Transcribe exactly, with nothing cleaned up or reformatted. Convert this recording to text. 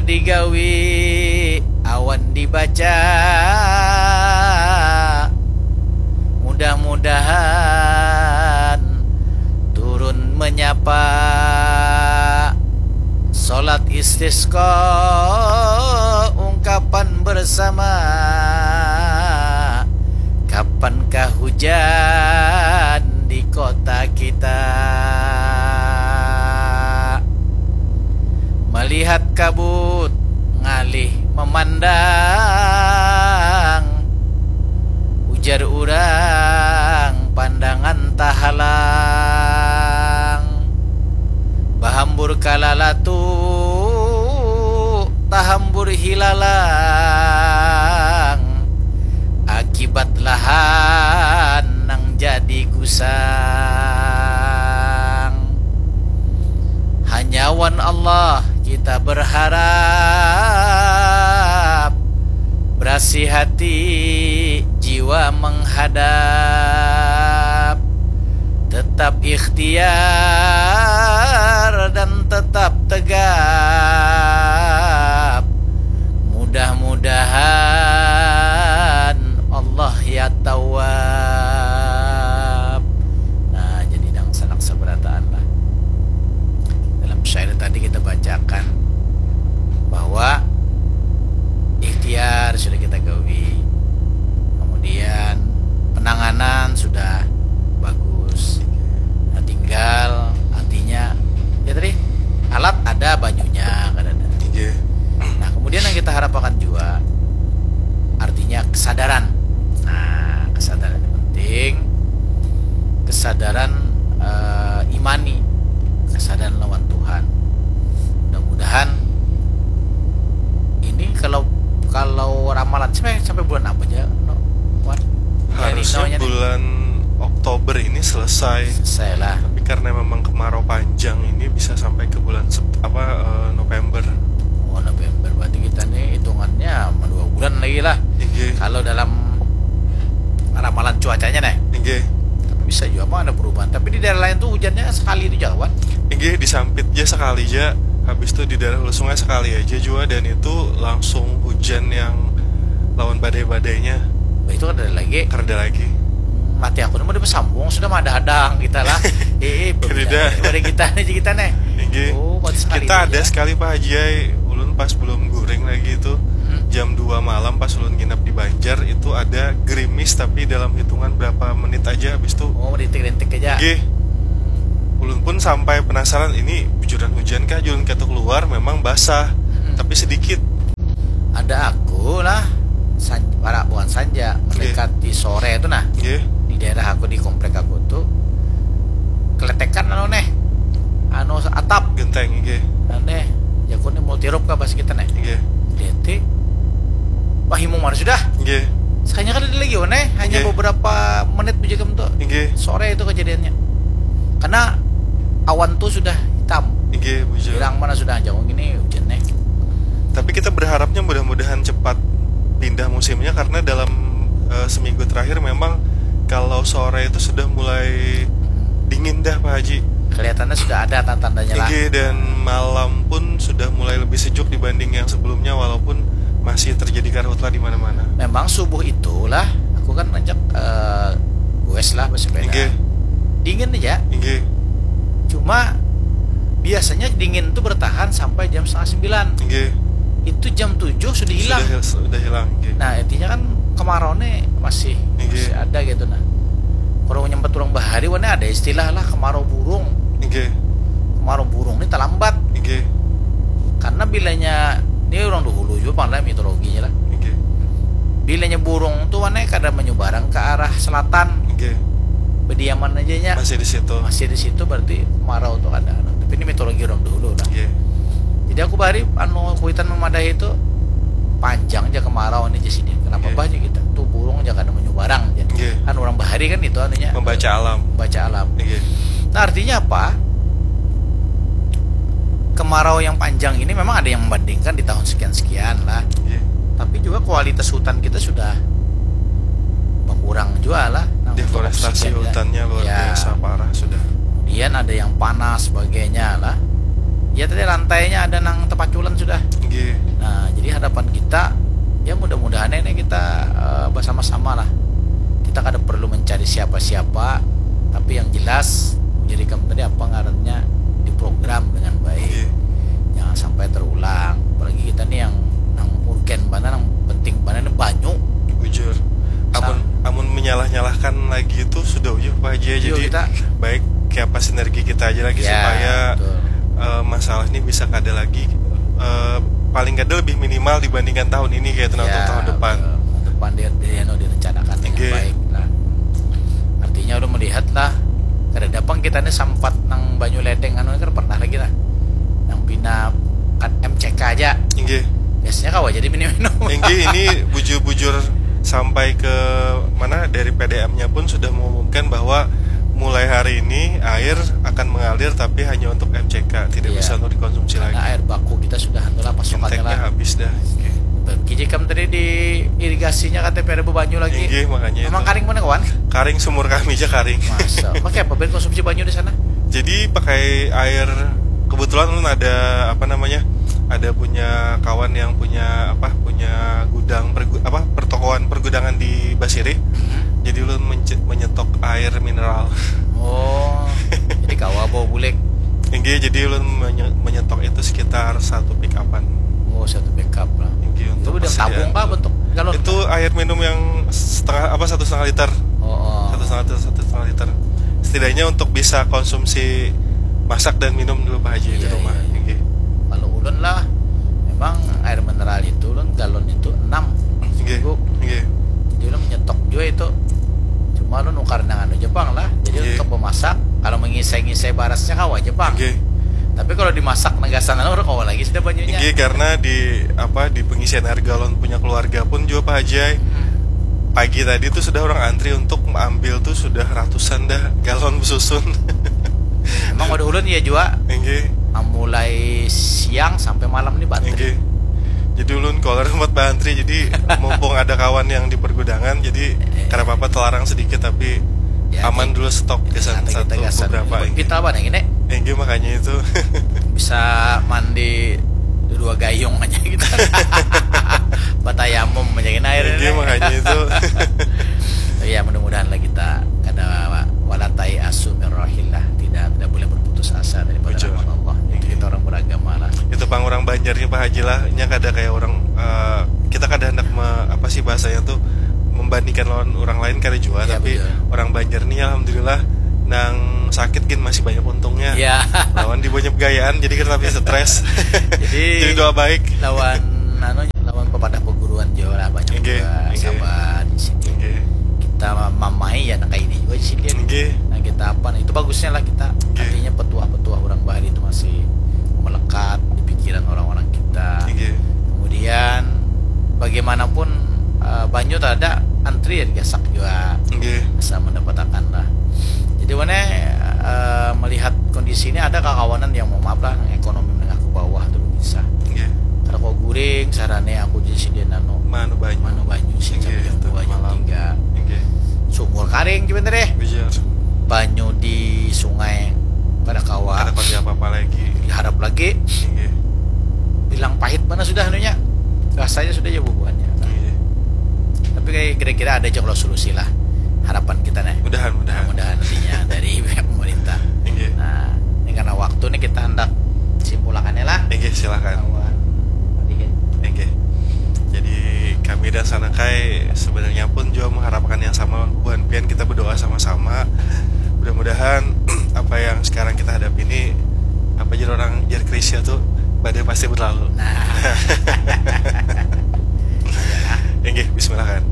digawi awan dibaca. Mudah-mudahan turun menyapa. Salat istisqa ungkapan bersama. Kapankah hujan di kota kita? Melihat kabut ngalih memandang, ujar urang pandangan tahalang. Bahambur kalalatu, tahambur hilalang, akibat lahan nang jadi gusang. Hanya wan Allah kita berharap, berasi hati jiwa menghadap, tetap ikhtiar dan tetap tegap. Mudah-mudahan Allah ya Tawwab. Nah, jadi nang sanak sabarataan lah. Dalam syair tadi kita bacakan bahwa ikhtiar sudah kita gawi, kemudian penanganan sudah bagus. Nah, tinggal artinya ya tadi alat ada, banyunya kan ada. Iya. Nah, kemudian yang kita harapkan juga artinya kesadaran. Nah, kesadaran ini penting. Kesadaran eh, imani, kesadaran lawan Tuhan. Mudah-mudahan ini kalau kalau ramalan sampai sampai bulan apa aja, no? Wan? Harusnya Nino-nya nih. Bulan Oktober ini selesai. Selesai lah. Tapi karena memang kemarau panjang ini bisa sampai ke bulan Sep- apa eh, November. Oh, November, berarti kita nih hitungannya dua bulan lagi lah. Iya. Kalau dalam ramalan cuacanya nih. Iya. Tapi bisa juga apa ada perubahan. Tapi di daerah lain tuh hujannya sekali itu jalan. Iya, disampit aja sekali aja. Habis itu di daerah Hulu Sungai sekali aja juga, dan itu langsung hujan yang lawan badai-badainya. Itu ada lagi. Kerja lagi. Mati aku mau bersambung sudah mah ada hadang kita lah. Eh, eh, Kerja. Pada kita nih kita nih. Iya. Oh, kuat sekali Kita itu ada ya. Sekali Pak Haji, ulun pas belum guring lagi itu Hmm. Jam dua malam pas ulun nginap di Banjar itu ada gerimis, tapi dalam hitungan berapa menit aja habis itu. Oh, rintik-rintik aja. Gih. Ulun pun sampai penasaran ini bujuran hujan kah, julun ketuk keluar memang basah, Hmm. tapi sedikit. Ada aku lah, san, para bukan sanja, mendekati sore itu nah. Gih. Di daerah aku, di komplek aku tuh keletekan anu nih, anu atap. Genteng, gih. Aneh, jaku nih multirop kah pas kita nih. Gih. Lihat, wah, himung mana sudah. Gih. Sekalinya kan ada lagi, wah, nih, hanya Gih. Beberapa menit bujikam tuh. Gih. Sore itu kejadiannya. Karena awan tuh sudah hitam. Gih, bujur. Bilang mana sudah jauh gini hujan nih. Tapi kita berharapnya mudah-mudahan cepat pindah musimnya, karena dalam eh, seminggu terakhir memang kalau sore itu sudah mulai dingin dah, Pak Haji. Kelihatannya sudah ada tanda-tandanya lah. Gih, dan malam pun sudah mulai lebih sejuk dibanding yang sebelumnya, walaupun masih terjadi karhutlah di mana-mana. Memang subuh itulah aku kan ngajak eh, goes lah bersepeda. Gih. Dingin aja. Gih. Cuma biasanya dingin tuh bertahan sampai jam setengah sembilan. Gih. Itu jam tujuh sudah hilang. Sudah, hil- sudah hilang. Gih. Nah, intinya kan kemarau nih masih Iya. masih ada gitu nah. Kalau nyampe turun bahari, wah, ini ada istilah lah kemarau burung. Gih. Kemarau burung ini terlambat. Gih. Karena bilanya, ini orang dahulu juga pang lah mitologinya lah. Gih. Bilanya burung tuh, wah, nih kada menyebarang ke arah selatan. Gih. Berdiaman aja nya. Masih di situ. Masih di situ, berarti kemarau tuh ada. Tapi ini mitologi orang dahulu lah. Gih. Jadi aku bahari anu kuitan memadahi itu panjang aja kemarau ini di sini. Kenapa Iya. Bah aja kita? Tuh burung aja kada menyubarang aja. Iya. Kan orang bahari kan itu anunya Membaca alam. Membaca alam. Iya. Nah, artinya apa? Kemarau yang panjang ini memang ada yang membandingkan di tahun sekian-sekian lah. Iya. Tapi juga kualitas hutan kita sudah berkurang juga lah. Nah, untuk Deforestasi oksigen, ya. Hutannya luar Ya. Biasa parah sudah. Kemudian ada yang panas sebagainya lah. Ya, Tadi lantainya ada nang tepaculan sudah. Nggih. Nah, jadi harapan kita, ya, mudah-mudahan ini kita, eh, bersama-sama lah. Kita kada perlu mencari siapa-siapa, tapi yang jelas, jadi kamu tadi apa ngarannya, diprogram dengan baik. Nggih. Jangan sampai terulang. Apalagi kita nih yang, yang urgen mana, yang penting mana nih banyu. Bujur. Amun, amun menyalah-nyalahkan lagi itu sudah ujuh, Pak Haji, ya. Iya, jadi kita baik kayak apa sinergi kita aja lagi. Ya, supaya betul. Eh, masalah ini bisa kada lagi, eh, paling kada lebih minimal dibandingkan tahun ini, kayak itu, nah, untuk, ya, tahun depan. Betul. Tahun depan dia, dia, anu, direncanakan dengan, oke, baik lah. Artinya udah melihat lah, kada dapang kita nih sampat nang banyu ledeng anu kan pernah lagi lah, nang pina kan M C K aja. Inggih. Biasanya kawa jadi minum-minum. Inggih, ini bujur-bujur sampai ke mana, dari P D M-nya pun sudah mengumumkan bahwa mulai hari ini air akan mengalir, tapi hanya untuk M C K, tidak, iya, bisa untuk dikonsumsi lagi. Karena air baku kita sudah anu lah, pasokannya intake-nya lah habis dah. Oke. Bagi jikam tadi di irigasinya K T P ada bebanyu lagi. Inggih, makanya memang itu. Karing mana, kawan? Karing sumur kami aja karing. Masa? Pakai apa ben konsumsi banyu di sana? Jadi pakai air, kebetulan ulun ada apa namanya, ada punya kawan yang punya apa, punya gudang pergu-, apa, pertokoan pergudangan di Basiri. Hmm. Jadi ulun menye-, menyetok air mineral. Oh, jadi kawa bawa bulek. Inggih, jadi ulun menye-, menyetok itu sekitar satu pick upan. Oh, satu pick up lah. Inggih, itu untuk udah persediaan tabung kah bentuk galon? Itu air minum yang setengah apa, satu setengah liter. Oh, oh. Satu setengah liter, satu setengah liter. Setidaknya untuk bisa konsumsi masak dan minum dulu, Pak Haji, di, iya, rumah. Iya, iya. Inggih. Kalau ulun lah, memang air mineral itu ulun galon itu enam. Inggih. Seminggu. Inggih. Jadi ulun menyetok juga itu. Cuma ulun nukar dengan anu Jepang lah. Jadi, inggih, untuk memasak, kalau mengisai-ngisai barasnya kawa Jepang. Inggih. Tapi kalau dimasak negasan anu, kawa lagi sudah banyunya. Inggih, karena di apa, di pengisian air galon punya keluarga pun juga, Pak Haji ai. Hmm. Pagi tadi tuh sudah orang antri untuk ambil tuh sudah ratusan dah galon besusun. Emang waduh ulun ya jua. Inggih. Ah, mulai siang sampai malam nih bantri. Inggih. Jadi ulun kalau rumah bantri, jadi mumpung ada kawan yang di pergudangan, jadi, eh, kada apa-apa telarang sedikit, tapi ya, aman dulu stok gasan satu, gasan beberapa, inggih. Kita apa nih ini? Inggih, makanya itu. Bisa mandi dua gayung aja kita. Batayamum aja ini airnya. Inggih, makanya itu. Ya, mudah-mudahan lah kita kada wala tai'asu min rauhillah, tidak, tidak boleh berputus asa daripada rahmat Allah. Jadi kita orang beragama lah. Itu pang orang Banjarnya, Pak Haji lah, nya kada kayak orang, eh, kita kada hendak me-, apa sih bahasanya tuh, membandingkan lawan orang lain kada jua, iya, tapi betul. Orang Banjar nih alhamdulillah nang sakit gin masih banyak untungnya. Iya. Lawan di banyak gayaan, jadi kita lebih stres. Jadi, jadi doa baik. Lawan anu, lawan pepadah perguruan jua lah banyak, inggih, juga, inggih, sabar di sini. Inggih. Kita mamai ya nang kayak ini juga di sini. Inggih. Nah, kita apa nih? Itu bagusnya lah kita. Inggih. Artinya petuah-petuah orang Bali itu masih melekat di pikiran orang-orang kita. Inggih. Kemudian bagaimanapun, eh, banyu tak ada, antri ya digasak juga. Inggih. Asa mendapatakan lah. Jadi mana, eh, melihat kondisi ini ada kakawanan yang, mohon maaf lah, ekonomi menengah ke bawah tuh bisa. Inggih. Kada kau guring, sarane aku jadi sidin anu. Manu banyu. Manu banyu sih, inggih, sampai jam dua, jam tiga. Inggih. Sumur karing juga deh. Bujur. Banyu di sungai kada kawa. Kada kawa apa-apa lagi. Diharap lagi. Inggih. Bilang pahit mana sudah anunya. Rasanya sudah ya bubuhannya. Inggih. Tapi kayak kira-kira ada aja kalau solusi lah. Harapan kita nih. Mudahan, mudahan. Mudahan nantinya dari pihak pemerintah. Inggih. Nah, ini karena waktu nih kita hendak simpulakannya lah. Inggih, silakan. Kawan. Inggih. Jadi kami dan Sanakai sebenarnya pun juga mengharapkan yang sama lawan bubuhan pian, kita berdoa sama-sama. Mudah-mudahan apa yang sekarang kita hadapi ini, apa jar orang, jar Krisya tuh, badai pasti berlalu. Nah. Inggih, bismillah kan.